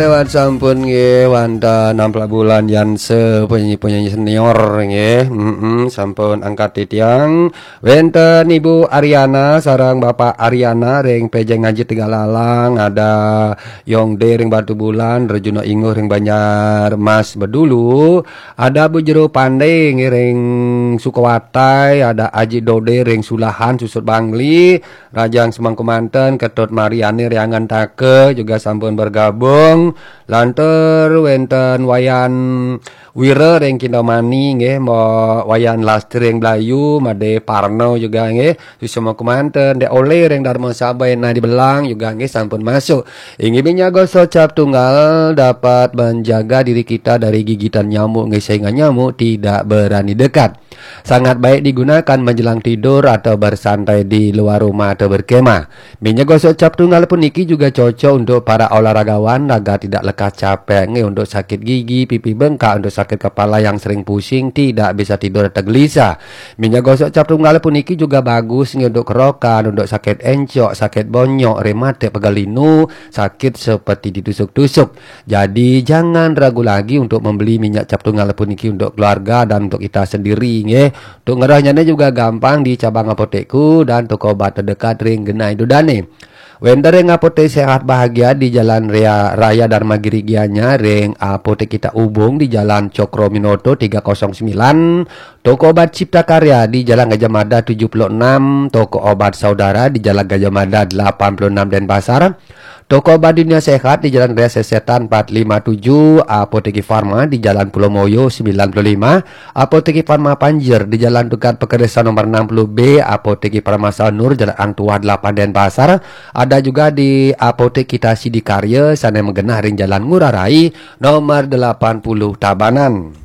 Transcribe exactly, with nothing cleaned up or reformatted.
Lewat sampun nggih wonten Ampla Bulan Yanse, penyanyi-penyanyi senior nggih. Mm-mm, sampun angkat titiang. Wenten Ibu Ariana sareng Bapak Ariana ring Pejeng Ngaji Tegalalang, ada Yongde ring Batubulan, Rejuno Inguh ring Banjarmas Bedulu, ada Bu Jero Pande nggih ring Sukawatai, ada Aji Dode ring Sulahan Susut Bangli, Rajang Semangku Manten, Ketut Mariani Riangan Take juga sampun bergabung. Lantur wenten Wayan Wira ring Kindomani nggih, Mo-, Wayan Lastri ring Blayu, Made Parno juga nggih. Semangku Manten, Dek Ole ring Darma Sabai, nah di Belang juga nggih sampun masuk. Inggih, minyak gosok cap tunggal dapat menjaga diri kita dari gigitan nyamuk nggih, sehingga nyamuk tidak berani dekat. Sangat baik digunakan menjelang tidur atau bersantai di luar rumah atau berkemah. Minyak gosok cap tunggal puniki juga cocok untuk para olahragawan, agar tidak lekas capek, nggih, untuk sakit gigi, pipi bengkak, untuk sakit kepala yang sering pusing, tidak bisa tidur atau gelisah. Minyak gosok cap tunggal puniki juga bagus, nggih, untuk kerokan, untuk sakit encok, sakit bonyok, rematik, pegal linu, sakit seperti ditusuk-tusuk. Jadi, jangan ragu lagi untuk membeli minyak cap tunggal puniki untuk keluarga dan untuk kita sendiri, nggih. Untuk ngerahnyane juga gampang di cabang apotekku dan toko obat terdekat ring genah ida dane. Wenten ring Apotek Sehat Bahagia di Jalan Raya, Raya Dharma Giri Gianyar, ring Apotek Kita Ubung di Jalan Cokroaminoto tiga kosong sembilan, toko obat Cipta Karya di Jalan Gajah Mada tujuh puluh enam, toko obat Saudara di Jalan Gajah Mada delapan puluh enam Denpasar, toko obat Dunia Sehat di Jalan Raya Sesetan empat lima tujuh, Apotek Farma di Jalan Pulau Moyo sembilan puluh lima, Apotek Farma Panjer di Jalan Tukad Pekeresan nomor enam puluh B, Apotek Farma Sanur Jalan Angtua delapan Denpasar, ada juga di Apotek Kita Sidikarya sane magenah ring Jalan Ngurah Rai nomor delapan puluh Tabanan.